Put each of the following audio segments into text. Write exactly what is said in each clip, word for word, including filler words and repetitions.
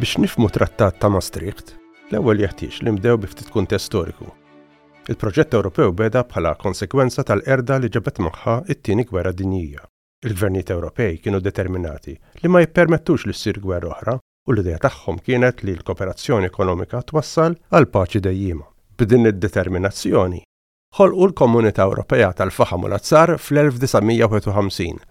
Biex nifhmu Trattat ta' Maastricht, l-ewwel jeħtieġ li nibdew bi ftit kuntest storiku. Il-proġett Ewropew beda bħala konsekwenza tal-qerda li ġabet magħha it-Tieni Gwerra Dinjija. Il-gvernijiet Ewropej kienu determinati li ma jippermettux li ssir gwerra oħra u l-idea tagħhom kienet li l-kooperazzjoni ekonomika twassal għal paċi dejjima. B'din id-determinazzjoni, ħolqu l-Komunità Ewropea tal-Faħam u l-Azzar fl-elf disa' mija u wieħed u ħamsin,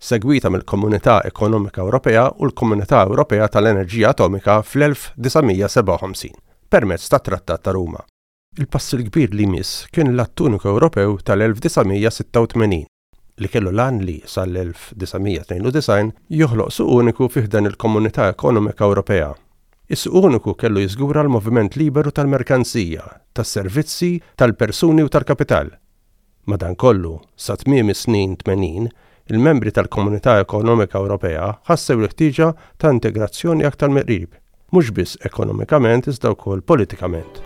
segwita mill-Komunità Ekonomika Ewropea u l-Komunità Ewropea tal-Enerġija Atomika fl-elf disa' mija u sebgħa u ħamsin permezz tat-Trattat ta' Ruma. Il-pass il-kbir li jmiss kien l-Att Uniku Ewropew tal-elf disa' mija u sitta u tmenin li kellu l-għan li sal-elf disa' mija u tnejn u disgħin joħloq suq uniku fi ħdan il-Komunità Ekonomika Ewropea. Is-suq uniku kellu jiżgura l-moviment liberu tal-merkanzija, tas-servizzi, tal-persuni u tal-kapital. Madankollu, sa tmiem is-snin tmenin, il-membri tal-Komunità Ekonomika Ewropea ħassew l-ħtieġa ta' integrazzjoni aktar mill-qrib, mhux biss ekonomikament iżda wkoll politikament.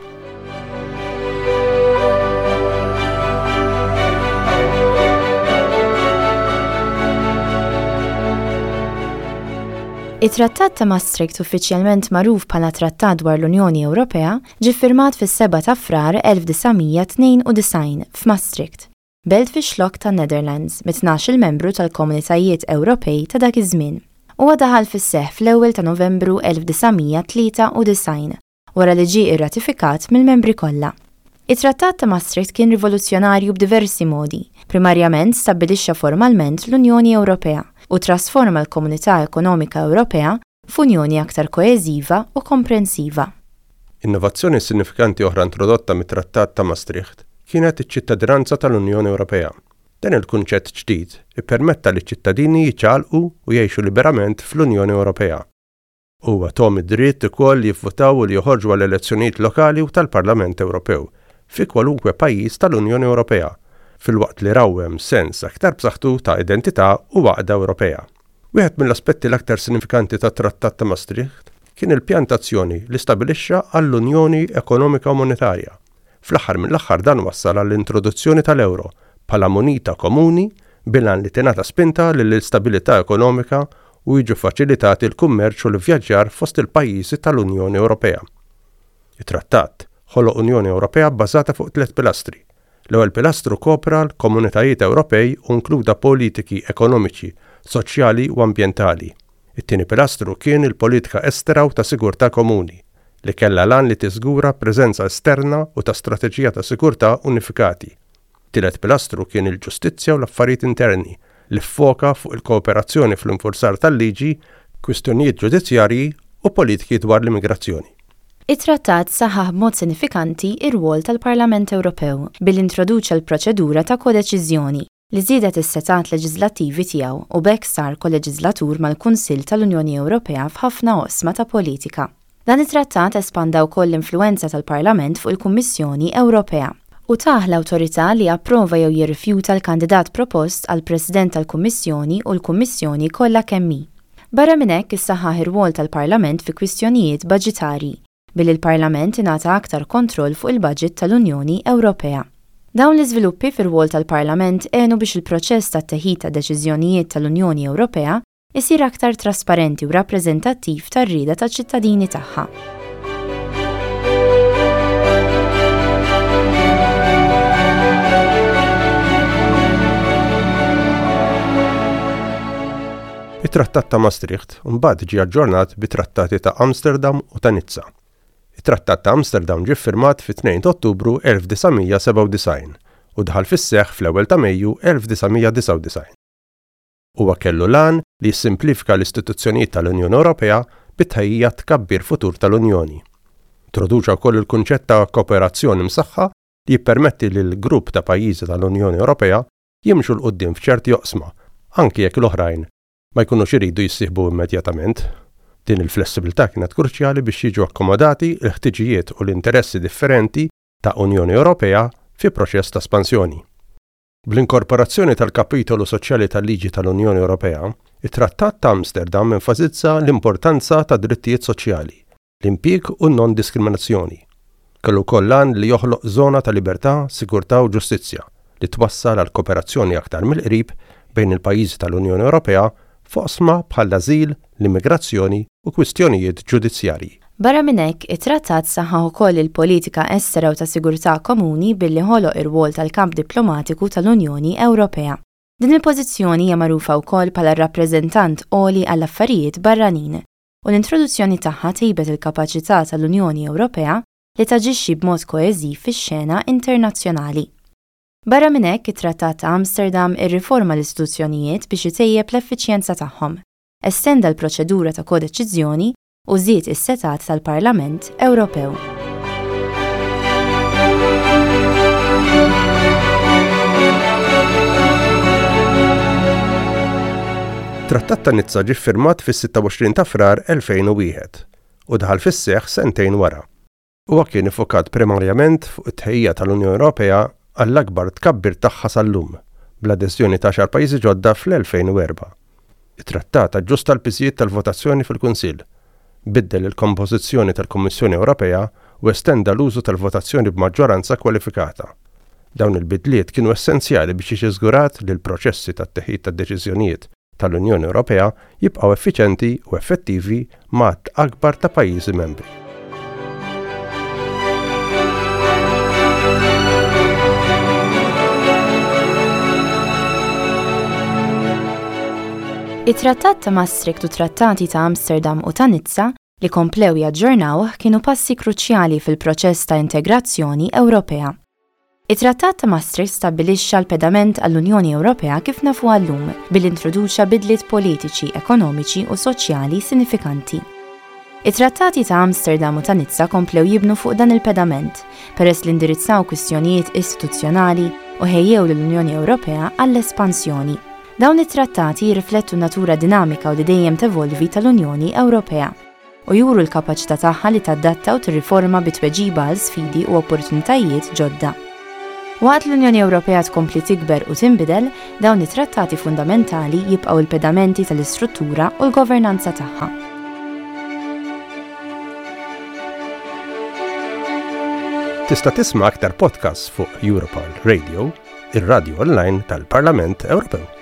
It-Trattat ta' Maastricht, uffiċjalment magħruf bħala Trattat dwar l-Unjoni Ewropea, ġie firmat fis-sebgħa ta' Frar elf disa' mija u tnejn u disgħin f'Maastricht, belt fix-Xlokk tan-Netherlands, mit-tnax-il membru tal-Komunitajiet Ewropej ta' dak iż-żmien. Huwa daħal fis-seħħ fl-ewwel ta' Novembru elf disa' mija u tlieta u disgħin wara li ġie irratifikat mill-membri kollha. It-Trattat ta' Maastricht kien rivoluzzjonarju b'diversi modi. Primarjament, stabbilixxa formalment l-Unjoni Ewropea u trasforma l-Komunità Ekonomika Ewropea f'unjoni aktar koeżiva u komprensiva. Innovazzjoni sinifikanti oħra introdotta mit-Trattat ta' Maastricht kienet iċ-ċittadinanza tal-Unjoni Ewropea. Dan il-kunċett ġdid ippermetta li ċittadini jiċċaqalqu u jgħixu liberament fl-Unjoni Ewropea. Huwa tahom id-dritt ukoll li jivvotaw u li joħorġu għall elezzjonijiet lokali u tal-Parlament Ewropew fi kwalunkwe pajjiż tal-Unjoni Ewropea, filwaqt li rawwem sens aktar b'saħħtu ta' identità u għaqda Ewropea. Wieħed mill-aspetti l-aktar sinifikanti tat-Trattat ta' Maastricht kien il-pjan t'azzjoni li stabilixxa għall-Unjoni Ekonomika u Monetarja. Fl-aħħar mill-aħħar, dan wassal għall-introduzzjoni tal-euro bħala munita komuni bil-għan li tingħata spinta lill-istabilità ekonomika u jiġu faċilitati l-kummerċ u l-vjaġġar fost il-pajjiżi tal-Unjoni Ewropea. Il-trattat ħoloq Unjoni Ewropea bbażata fuq tliet pilastri. L-ewwel pilastru kopra l-komunitajiet Ewropej u inkluda politiki ekonomiċi, soċjali u ambjentali. It-tieni pilastru kien il-politika estera u ta' sigurtà komuni, li kellha l-għan li tiżgura preżenza esterna u ta' strateġija ta' sigurtà unifikati. Tielet pilastru kien il-ġustizzja u l-affarijiet interni, li ffoka fuq il-kooperazzjoni fl-infurzar tal-liġi, kwistjonijiet ġudizzjarji u politiki dwar l-immigrazzjoni. It-trattat saħaħ b'mod sinifikanti ir-rwol tal-Parlament Ewropew billi introduċa l-proċedura ta' kodeċiżjoni li żiedet is-setgħat leġislattivi tiegħu, u b'hekk sar koleġislatur mal-Kunsill tal-Unjoni Ewropea f'ħafna oqsma ta' politika. Dan it-trattat espanda wkoll l-influenza tal-Parlament fuq il-Kummissjoni Ewropea u tah l-awtorità li approva jew jirrifjuta l-kandidat propost għal President tal-Kummissjoni u l-Kummissjoni kollha kemm hi. Barra minn hekk, issaħħaħ ir-rwol tal-Parlament fi kwistjonijiet baġitarji billi l-Parlament ingħata aktar kontroll fuq il-budget tal-Unjoni Ewropea. Dawn l-iżviluppi fir-rwol tal-Parlament għenu biex il-proċess ta' teħid ta' deċiżjonijiet tal-Unjoni Ewropea isir aktar trasparenti u rappreżentattiv tar-rieda taċ-ċittadini tagħha. It-Trattat ta' Maastricht mbagħad ġie aġġornat bi trattati ta' Amsterdam u ta' Nizza. It-Trattat ta' Amsterdam ġie ffirmat fit-tnejn ta' Ottubru elf disa' mija u sebgħa u disgħin u daħal fis-seħħ fl-ewwel ta' Mejju elf disa' mija u disgħa u disgħin. Huwa kellu l-għan li jissimplifika l-istituzzjonijiet tal-Unjoni Ewropea bit-tħejjija tkabbir futur tal-Unjoni. Introduċa wkoll il-kunċett ta' kooperazzjoni msaħħa li jippermetti lil grupp ta' pajjiżi tal-Unjoni Ewropea jimxu 'l quddiem f'ċerti oqsma, anki jekk l-oħrajn ma jkunux iridu jissieħbu immedjatament. Din il-flessibilità kienet kruċjali biex jiġu akkomodati l-ħtiġijiet u l-interessi differenti ta' Unjoni Ewropea fi proċess ta' espansjoni. Bl-inkorporazzjoni tal-kapitolu soċjali tal-liġi tal-Unjoni Ewropea, it-Trattat ta' Amsterdam enfasizza l-importanza ta' drittijiet soċjali, l-impjieg u non-diskriminazzjoni. Kellu wkoll l-għan li joħloq żona ta' libertà, sigurtà u ġustizzja li twassal għal kooperazzjoni aktar mill-qrib bejn il-pajjiżi tal-Unjoni Ewropea f'oqsma bħall-ażil, l-immigrazzjoni u kwistjonijiet ġudizzjarji. Barra minn hekk, it-trattat saħħaħ ukoll il-politika estera u ta' sigurtà komuni billi ħoloq ir-rwol tal-kamp diplomatiku tal-Unjoni Ewropea. Din il-pożizzjoni hija magħrufa wkoll bħala rappreżentant għoli għall-affarijiet barranin u l-introduzzjoni tagħha tejbet il-kapaċità tal-Unjoni Ewropea li taġixxi b'mod koeżiv fix-xena internazzjonali. Barra minn hekk, it-Trattat ta' Amsterdam irriforma l-istituzzjonijiet biex itejjeb l-effiċjenza tagħhom, estenda l-proċedura ta' kodeċiżjoni u żied is-setgħat tal-Parlament Ewropew. Trattat ta' Nizza ġie ffirmat fis-sitta u għoxrin ta' Frar elfejn u wieħed u daħal fis-seħħ sentejn wara. Huwa kien iffokat primarjament fuq it-tħejjija tal-Unjoni Ewropea għall-akbar tkabbir tagħha sal-lum, bl-adeżjoni ta' għaxar pajjiżi ġodda fl-elfejn u erbgħa. It-trattat aġġusta l-piżijiet tal-votazzjoni fil-Kunsill, biddel il-kompożizzjoni tal-Kummissjoni Ewropea u estenda l-użu tal-votazzjoni b'maġġoranza kwalifikata. Dawn il-bidliet kienu essenzjali biex jiġi żgurat li l-proċessi tat-teħid tad-deċiżjonijiet tal-Unjoni Ewropea jibqgħu effiċjenti u effettivi ma' għadd akbar ta' pajjiżi membri. It-Trattat ta' Maastricht u Trattati ta' Amsterdam u ta' Nizza li komplew jaġġornawh kienu passi kruċjali fil-proċess ta' integrazzjoni Ewropea. It-Trattat ta' Maastricht stabbilixxa l-pedament għall-Unjoni Ewropea kif nafuha llum billi introduċa bidliet politiċi, ekonomiċi u soċjali sinifikanti. It-Trattati ta' Amsterdam u ta' Nizza komplew jibnu fuq dan il-pedament peress li indirizzaw kwistjonijiet istituzzjonali u ħejjew lill-Unjoni Ewropea għall-espansjoni. Dawn it-trattati jirriflettu n-natura dinamika u li dejjem tevolvi tal-Unjoni Ewropea u juru l-kapaċità tagħha li tadatta u tirriforma bi tweġiba għal sfidi u opportunitajiet ġodda. Waqt l-Unjoni Ewropea tkompli tikber u tinbidel, dawn it-trattati fundamentali jibqgħu l-pedamenti tal-istruttura u l-governanza tagħha. Tista' tisma' aktar podcasts fuq Europarl Radio, ir-radio online tal-Parlament Ewropew.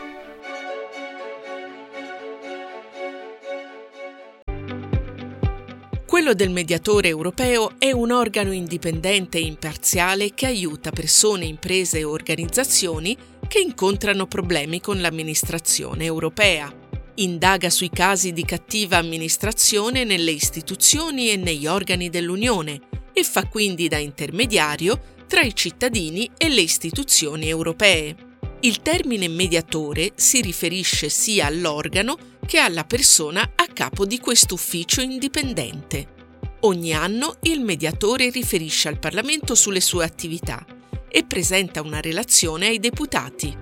Quello del mediatore europeo è un organo indipendente e imparziale che aiuta persone, imprese e organizzazioni che incontrano problemi con l'amministrazione europea. Indaga sui casi di cattiva amministrazione nelle istituzioni e negli organi dell'Unione e fa quindi da intermediario tra i cittadini e le istituzioni europee. Il termine mediatore si riferisce sia all'organo che alla persona a capo di quest'ufficio indipendente. Ogni anno il mediatore riferisce al Parlamento sulle sue attività e presenta una relazione ai deputati.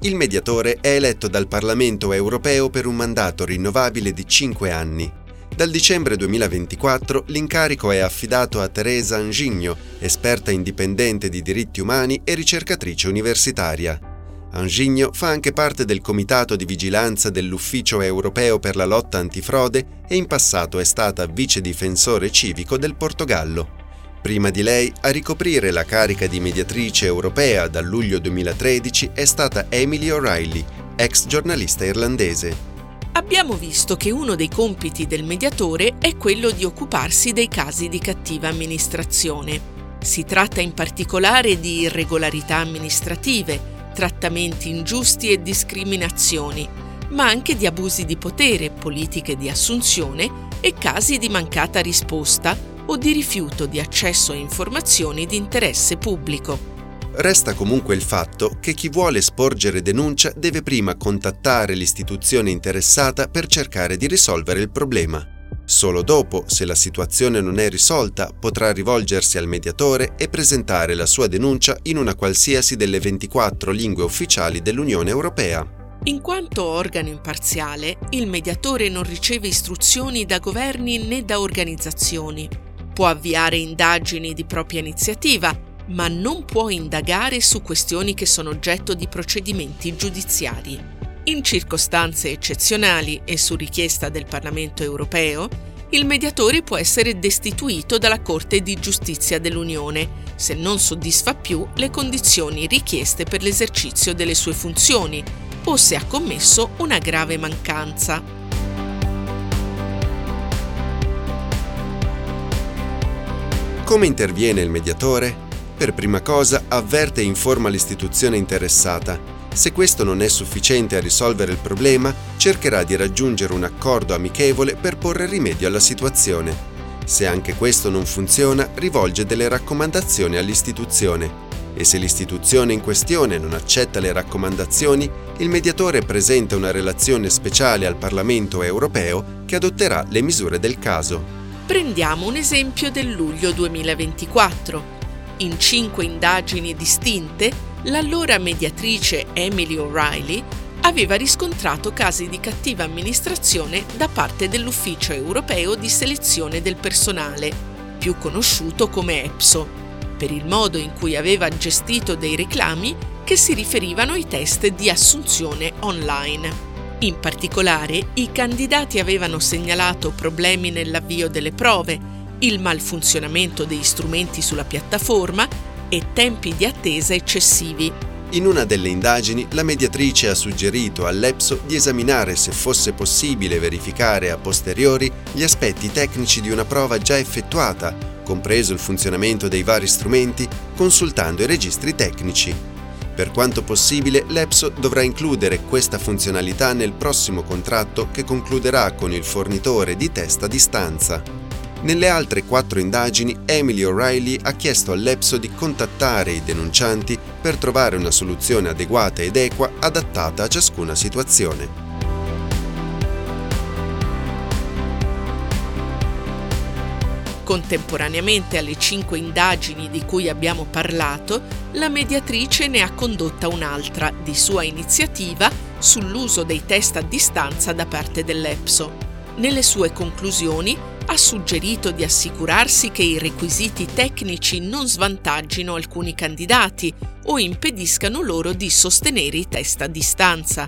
Il mediatore è eletto dal Parlamento europeo per un mandato rinnovabile di cinque anni. Dal dicembre duemilaventiquattro l'incarico è affidato a Teresa Anjinho, esperta indipendente di diritti umani e ricercatrice universitaria. Anjinho fa anche parte del Comitato di Vigilanza dell'Ufficio Europeo per la Lotta Antifrode e in passato è stata vice difensore civico del Portogallo. Prima di lei, a ricoprire la carica di mediatrice europea dal luglio duemilatredici è stata Emily O'Reilly, ex giornalista irlandese. Abbiamo visto che uno dei compiti del mediatore è quello di occuparsi dei casi di cattiva amministrazione. Si tratta in particolare di irregolarità amministrative, trattamenti ingiusti e discriminazioni, ma anche di abusi di potere, politiche di assunzione e casi di mancata risposta o di rifiuto di accesso a informazioni di interesse pubblico. Resta comunque il fatto che chi vuole sporgere denuncia deve prima contattare l'istituzione interessata per cercare di risolvere il problema. Solo dopo, se la situazione non è risolta, potrà rivolgersi al mediatore e presentare la sua denuncia in una qualsiasi delle ventiquattro lingue ufficiali dell'Unione Europea. In quanto organo imparziale, il mediatore non riceve istruzioni da governi né da organizzazioni. Può avviare indagini di propria iniziativa, ma non può indagare su questioni che sono oggetto di procedimenti giudiziari. In circostanze eccezionali e su richiesta del Parlamento europeo, il mediatore può essere destituito dalla Corte di Giustizia dell'Unione se non soddisfa più le condizioni richieste per l'esercizio delle sue funzioni o se ha commesso una grave mancanza. Come interviene il mediatore? Per prima cosa avverte e informa l'istituzione interessata. Se questo non è sufficiente a risolvere il problema, cercherà di raggiungere un accordo amichevole per porre rimedio alla situazione. Se anche questo non funziona, rivolge delle raccomandazioni all'istituzione. E se l'istituzione in questione non accetta le raccomandazioni, il mediatore presenta una relazione speciale al Parlamento europeo che adotterà le misure del caso. Prendiamo un esempio del luglio duemilaventiquattro. In cinque indagini distinte, l'allora mediatrice Emily O'Reilly aveva riscontrato casi di cattiva amministrazione da parte dell'Ufficio Europeo di Selezione del Personale, più conosciuto come EPSO, per il modo in cui aveva gestito dei reclami che si riferivano ai test di assunzione online. In particolare, i candidati avevano segnalato problemi nell'avvio delle prove, il malfunzionamento degli strumenti sulla piattaforma e tempi di attesa eccessivi. In una delle indagini, la mediatrice ha suggerito all'EPSO di esaminare se fosse possibile verificare a posteriori gli aspetti tecnici di una prova già effettuata, compreso il funzionamento dei vari strumenti, consultando i registri tecnici. Per quanto possibile, l'EPSO dovrà includere questa funzionalità nel prossimo contratto che concluderà con il fornitore di test a distanza. Nelle altre quattro indagini, Emily O'Reilly ha chiesto all'EPSO di contattare i denuncianti per trovare una soluzione adeguata ed equa adattata a ciascuna situazione. Contemporaneamente alle cinque indagini di cui abbiamo parlato, la mediatrice ne ha condotta un'altra, di sua iniziativa, sull'uso dei test a distanza da parte dell'EPSO. Nelle sue conclusioni ha suggerito di assicurarsi che i requisiti tecnici non svantaggino alcuni candidati o impediscano loro di sostenere i test a distanza.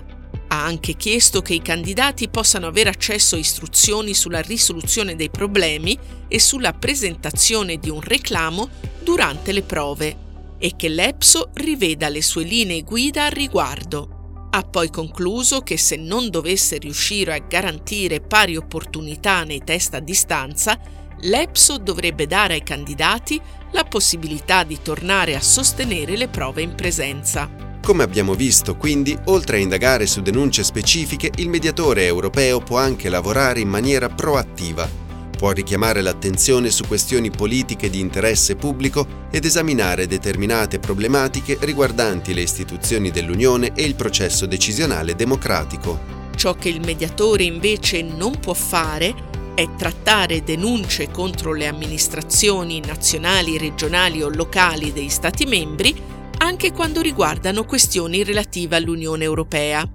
Ha anche chiesto che i candidati possano avere accesso a istruzioni sulla risoluzione dei problemi e sulla presentazione di un reclamo durante le prove e che l'EPSO riveda le sue linee guida al riguardo. Ha poi concluso che se non dovesse riuscire a garantire pari opportunità nei test a distanza, l'EPSO dovrebbe dare ai candidati la possibilità di tornare a sostenere le prove in presenza. Come abbiamo visto, quindi, oltre a indagare su denunce specifiche, il mediatore europeo può anche lavorare in maniera proattiva. Può richiamare l'attenzione su questioni politiche di interesse pubblico ed esaminare determinate problematiche riguardanti le istituzioni dell'Unione e il processo decisionale democratico. Ciò che il mediatore invece non può fare è trattare denunce contro le amministrazioni nazionali, regionali o locali dei Stati membri, anche quando riguardano questioni relative all'Unione Europea.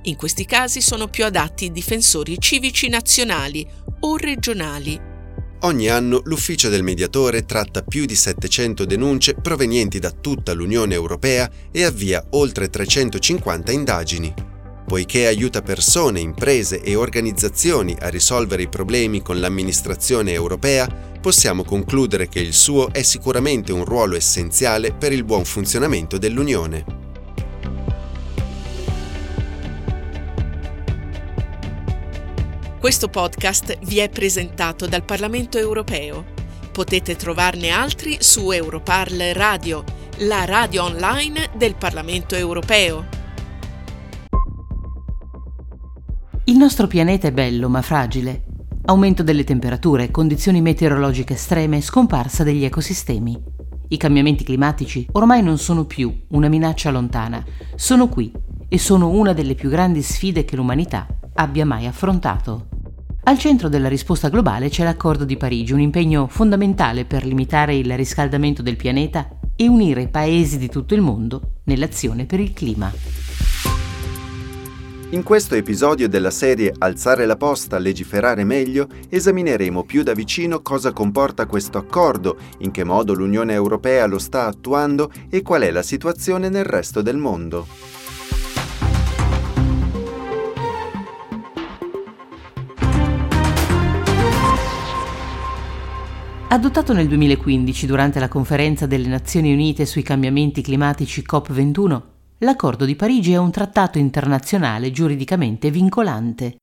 In questi casi sono più adatti i difensori civici nazionali o regionali. Ogni anno l'ufficio del mediatore tratta più di settecento denunce provenienti da tutta l'Unione Europea e avvia oltre trecentocinquanta indagini. Poiché aiuta persone, imprese e organizzazioni a risolvere i problemi con l'amministrazione europea, possiamo concludere che il suo è sicuramente un ruolo essenziale per il buon funzionamento dell'Unione. Questo podcast vi è presentato dal Parlamento Europeo. Potete trovarne altri su Europarl Radio, la radio online del Parlamento Europeo. Il nostro pianeta è bello ma fragile. Aumento delle temperature, condizioni meteorologiche estreme, scomparsa degli ecosistemi. I cambiamenti climatici ormai non sono più una minaccia lontana, sono qui e sono una delle più grandi sfide che l'umanità abbia mai affrontato. Al centro della risposta globale c'è l'Accordo di Parigi, un impegno fondamentale per limitare il riscaldamento del pianeta e unire paesi di tutto il mondo nell'azione per il clima. In questo episodio della serie Alzare la posta, legiferare meglio, esamineremo più da vicino cosa comporta questo accordo, in che modo l'Unione Europea lo sta attuando e qual è la situazione nel resto del mondo. Adottato nel duemilaquindici durante la conferenza delle Nazioni Unite sui cambiamenti climatici COP ventuno, l'Accordo di Parigi è un trattato internazionale giuridicamente vincolante.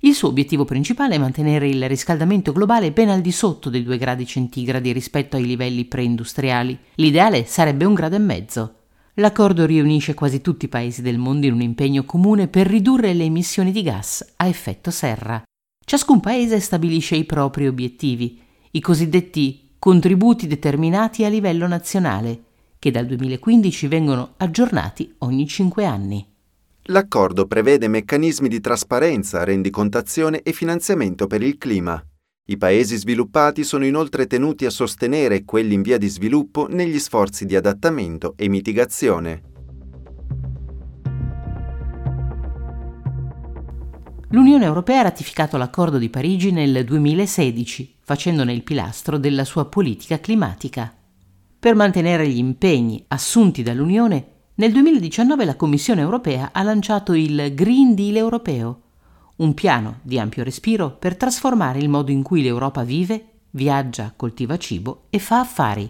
Il suo obiettivo principale è mantenere il riscaldamento globale ben al di sotto dei due gradi centigradi rispetto ai livelli preindustriali. L'ideale sarebbe un grado e mezzo. L'accordo riunisce quasi tutti i paesi del mondo in un impegno comune per ridurre le emissioni di gas a effetto serra. Ciascun paese stabilisce i propri obiettivi, i cosiddetti contributi determinati a livello nazionale, che dal duemilaquindici vengono aggiornati ogni cinque anni. L'accordo prevede meccanismi di trasparenza, rendicontazione e finanziamento per il clima. I paesi sviluppati sono inoltre tenuti a sostenere quelli in via di sviluppo negli sforzi di adattamento e mitigazione. L'Unione Europea ha ratificato l'Accordo di Parigi nel duemilasedici, facendone il pilastro della sua politica climatica. Per mantenere gli impegni assunti dall'Unione, nel duemiladiciannove la Commissione Europea ha lanciato il Green Deal europeo, un piano di ampio respiro per trasformare il modo in cui l'Europa vive, viaggia, coltiva cibo e fa affari.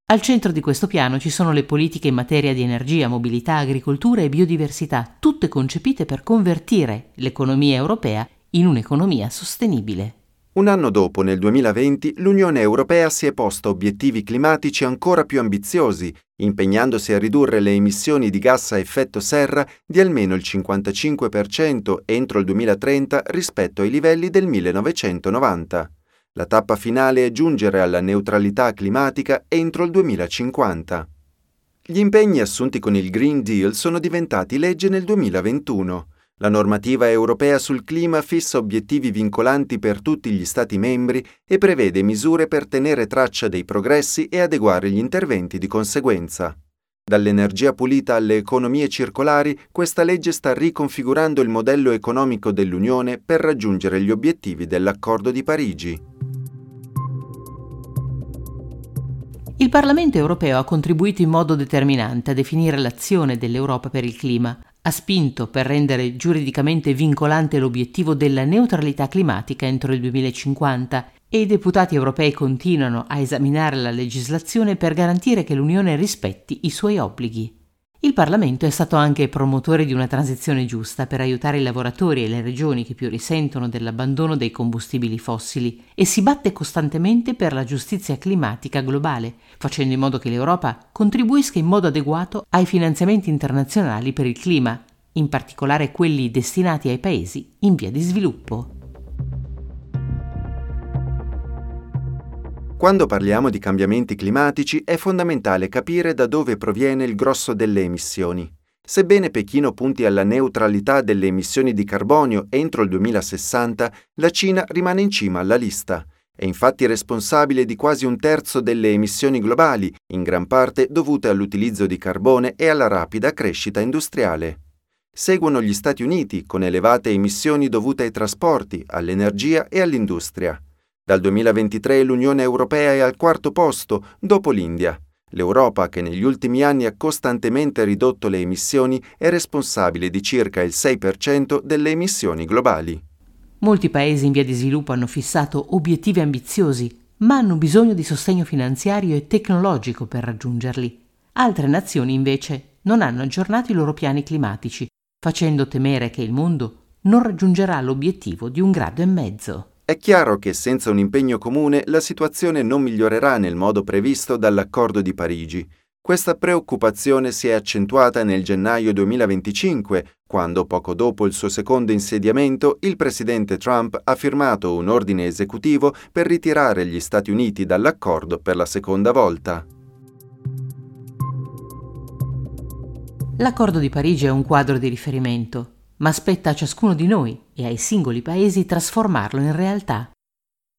Al centro di questo piano ci sono le politiche in materia di energia, mobilità, agricoltura e biodiversità, tutte concepite per convertire l'economia europea in un'economia sostenibile. Un anno dopo, nel duemilaventi, l'Unione Europea si è posta obiettivi climatici ancora più ambiziosi, impegnandosi a ridurre le emissioni di gas a effetto serra di almeno il cinquantacinque per cento entro il duemilatrenta rispetto ai livelli del millenovecentonovanta. La tappa finale è giungere alla neutralità climatica entro il duemilacinquanta. Gli impegni assunti con il Green Deal sono diventati legge nel duemilaventuno. La normativa europea sul clima fissa obiettivi vincolanti per tutti gli Stati membri e prevede misure per tenere traccia dei progressi e adeguare gli interventi di conseguenza. Dall'energia pulita alle economie circolari, questa legge sta riconfigurando il modello economico dell'Unione per raggiungere gli obiettivi dell'Accordo di Parigi. Il Parlamento europeo ha contribuito in modo determinante a definire l'azione dell'Europa per il clima. Ha spinto per rendere giuridicamente vincolante l'obiettivo della neutralità climatica entro il duemilacinquanta e i deputati europei continuano a esaminare la legislazione per garantire che l'Unione rispetti i suoi obblighi. Il Parlamento è stato anche promotore di una transizione giusta per aiutare i lavoratori e le regioni che più risentono dell'abbandono dei combustibili fossili e si batte costantemente per la giustizia climatica globale, facendo in modo che l'Europa contribuisca in modo adeguato ai finanziamenti internazionali per il clima, in particolare quelli destinati ai paesi in via di sviluppo. Quando parliamo di cambiamenti climatici è fondamentale capire da dove proviene il grosso delle emissioni. Sebbene Pechino punti alla neutralità delle emissioni di carbonio entro il duemilasessanta, la Cina rimane in cima alla lista. È infatti responsabile di quasi un terzo delle emissioni globali, in gran parte dovute all'utilizzo di carbone e alla rapida crescita industriale. Seguono gli Stati Uniti, con elevate emissioni dovute ai trasporti, all'energia e all'industria. Dal duemilaventitré l'Unione Europea è al quarto posto, dopo l'India. L'Europa, che negli ultimi anni ha costantemente ridotto le emissioni, è responsabile di circa il sei per cento delle emissioni globali. Molti paesi in via di sviluppo hanno fissato obiettivi ambiziosi, ma hanno bisogno di sostegno finanziario e tecnologico per raggiungerli. Altre nazioni, invece, non hanno aggiornato i loro piani climatici, facendo temere che il mondo non raggiungerà l'obiettivo di un grado e mezzo. È chiaro che senza un impegno comune la situazione non migliorerà nel modo previsto dall'Accordo di Parigi. Questa preoccupazione si è accentuata nel gennaio duemilaventicinque, quando, poco dopo il suo secondo insediamento, il presidente Trump ha firmato un ordine esecutivo per ritirare gli Stati Uniti dall'accordo per la seconda volta. L'Accordo di Parigi è un quadro di riferimento, ma spetta a ciascuno di noi e ai singoli paesi trasformarlo in realtà.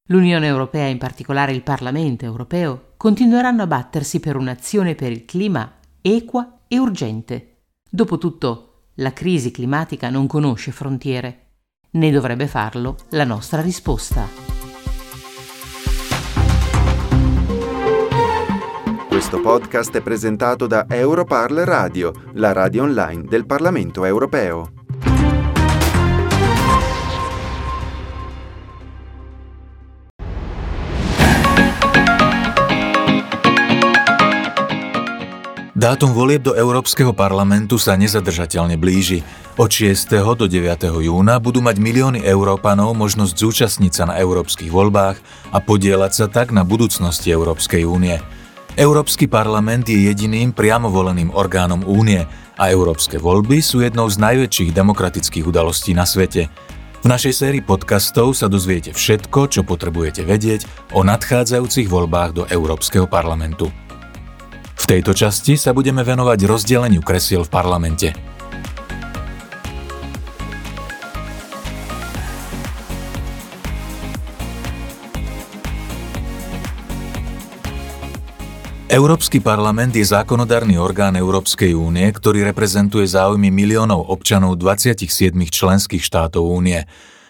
L'Unione Europea, in particolare il Parlamento europeo, continueranno a battersi per un'azione per il clima equa e urgente. Dopotutto, la crisi climatica non conosce frontiere, né dovrebbe farlo la nostra risposta. Questo podcast è presentato da Europarl Radio, la radio online del Parlamento europeo. Dátum volieb do Európskeho parlamentu sa nezadržateľne blíži. Od šiesteho do deviateho júna budú mať milióny Európanov možnosť zúčastniť sa na európskych voľbách a podieľať sa tak na budúcnosti Európskej únie. Európsky parlament je jediným priamo voleným orgánom únie a európske voľby sú jednou z najväčších demokratických udalostí na svete. V našej sérii podcastov sa dozviete všetko, čo potrebujete vedieť o nadchádzajúcich voľbách do Európskeho parlamentu. V tejto časti sa budeme venovať rozdeleniu kresiel v parlamente. Európsky parlament je zákonodárny orgán Európskej únie, ktorý reprezentuje záujmy miliónov občanov dvadsiatich siedmich členských štátov únie.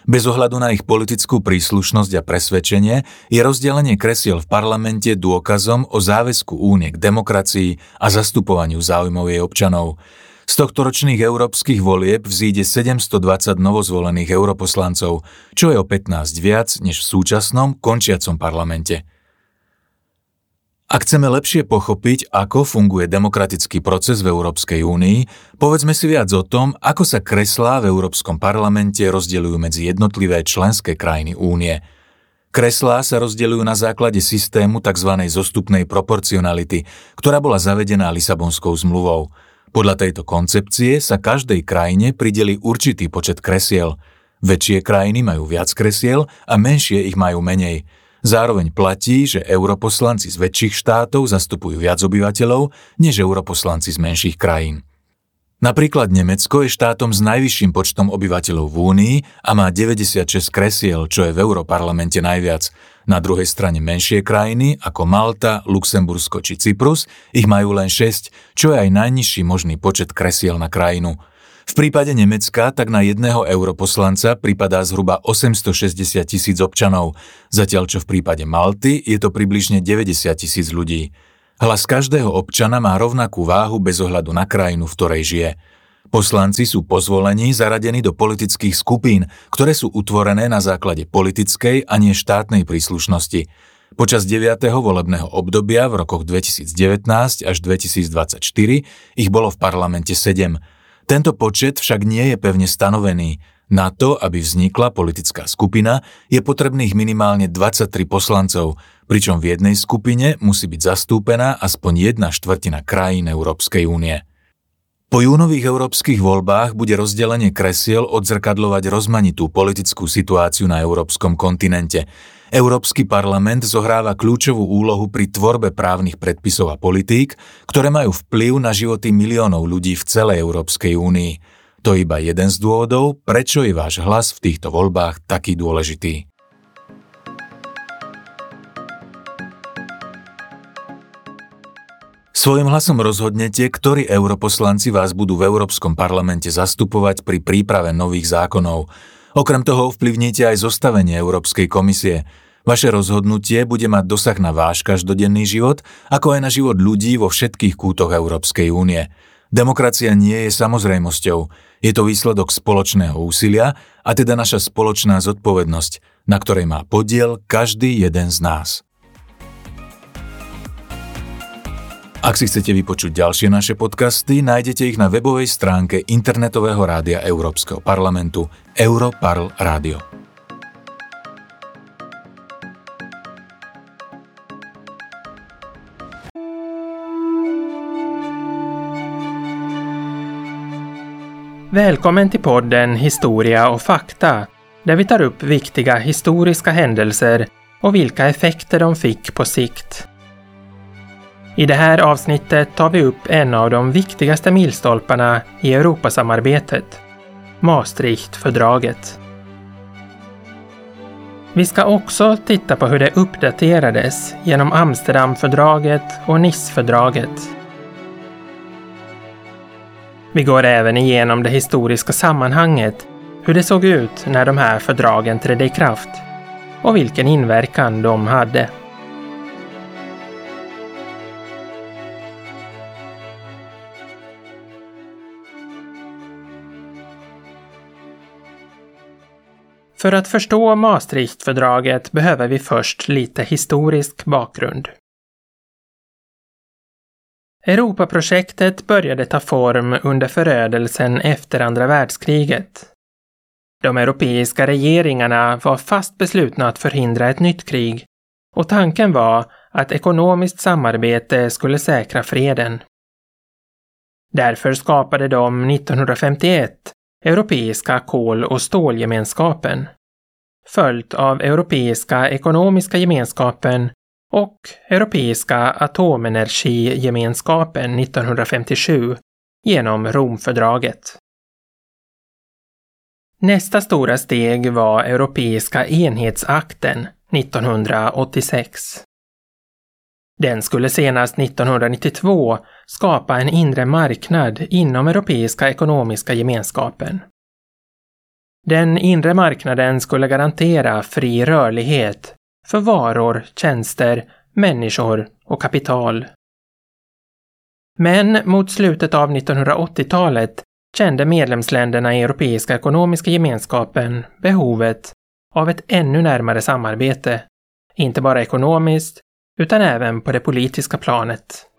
Bez ohľadu na ich politickú príslušnosť a presvedčenie je rozdelenie kresiel v parlamente dôkazom o záväzku únie k demokracii a zastupovaniu záujmov jej občanov. Z tohtoročných európskych volieb vzíde sedemstodvadsať novozvolených europoslancov, čo je o pätnásť viac než v súčasnom končiacom parlamente. Ak chceme lepšie pochopiť, ako funguje demokratický proces v Európskej únii, povedzme si viac o tom, ako sa kreslá v Európskom parlamente rozdeľujú medzi jednotlivé členské krajiny únie. Kreslá sa rozdeľujú na základe systému tzv. Zostupnej proporcionality, ktorá bola zavedená Lisabonskou zmluvou. Podľa tejto koncepcie sa každej krajine prideli určitý počet kresiel. Väčšie krajiny majú viac kresiel a menšie ich majú menej. Zároveň platí, že europoslanci z väčších štátov zastupujú viac obyvateľov, než europoslanci z menších krajín. Napríklad Nemecko je štátom s najvyšším počtom obyvateľov v Únii a má deväťdesiatšesť kresiel, čo je v europarlamente najviac. Na druhej strane menšie krajiny, ako Malta, Luxembursko či Cyprus, ich majú len šesť, čo je aj najnižší možný počet kresiel na krajinu. V prípade Nemecka tak na jedného europoslanca pripadá zhruba osemstošesťdesiat tisíc občanov, zatiaľ čo v prípade Malty je to približne deväťdesiat tisíc ľudí. Hlas každého občana má rovnakú váhu bez ohľadu na krajinu, v ktorej žije. Poslanci sú po zvolení zaradení do politických skupín, ktoré sú utvorené na základe politickej a nie štátnej príslušnosti. Počas deviateho volebného obdobia v rokoch dvetisícdevätnásť až dvetisícdvadsaťštyri ich bolo v parlamente sedem. Tento počet však nie je pevne stanovený. Na to, aby vznikla politická skupina, je potrebných minimálne dvadsaťtri poslancov, pričom v jednej skupine musí byť zastúpená aspoň jedna štvrtina krajín Európskej únie. Po júnových európskych voľbách bude rozdelenie kresiel odzrkadľovať rozmanitú politickú situáciu na európskom kontinente. Európsky parlament zohráva kľúčovú úlohu pri tvorbe právnych predpisov a politík, ktoré majú vplyv na životy miliónov ľudí v celej Európskej únii. To je iba jeden z dôvodov, prečo je váš hlas v týchto voľbách taký dôležitý. Svojím hlasom rozhodnete, ktorí europoslanci vás budú v Európskom parlamente zastupovať pri príprave nových zákonov. Okrem toho ovplyvníte aj zostavenie Európskej komisie. Vaše rozhodnutie bude mať dosah na váš každodenný život, ako aj na život ľudí vo všetkých kútoch Európskej únie. Demokracia nie je samozrejmosťou. Je to výsledok spoločného úsilia a teda naša spoločná zodpovednosť, na ktorej má podiel každý jeden z nás. Ak si chcete vypočuť ďalšie naše podcasty, nájdete ich na webovej stránke internetového rádia Európskeho parlamentu Europarl Radio. Välkommen till podden Historia och fakta, där vi tar upp viktiga historiska händelser och vilka effekter de fick på sikt. I det här avsnittet tar vi upp en av de viktigaste milstolparna i Europasamarbetet, Maastrichtfördraget. Vi ska också titta på hur det uppdaterades genom Amsterdamfördraget och Nicefördraget. Vi går även igenom det historiska sammanhanget, hur det såg ut när de här fördragen trädde i kraft och vilken inverkan de hade. För att förstå Maastrichtfördraget behöver vi först lite historisk bakgrund. Europaprojektet började ta form under förödelsen efter andra världskriget. De europeiska regeringarna var fast beslutna att förhindra ett nytt krig och tanken var att ekonomiskt samarbete skulle säkra freden. Därför skapade de nittonhundrafemtioett Europeiska kol- och stålgemenskapen, följt av Europeiska ekonomiska gemenskapen och Europeiska atomenergigemenskapen nittonhundrafemtiosju genom Romfördraget. Nästa stora steg var Europeiska enhetsakten nittonhundraåttiosex. Den skulle senast nittonhundranittiotvå skapa en inre marknad inom Europeiska ekonomiska gemenskapen. Den inre marknaden skulle garantera fri rörlighet för varor, tjänster, människor och kapital. Men mot slutet av nittonhundraåttiotalet kände medlemsländerna i Europeiska ekonomiska gemenskapen behovet av ett ännu närmare samarbete, inte bara ekonomiskt utan även på det politiska planet.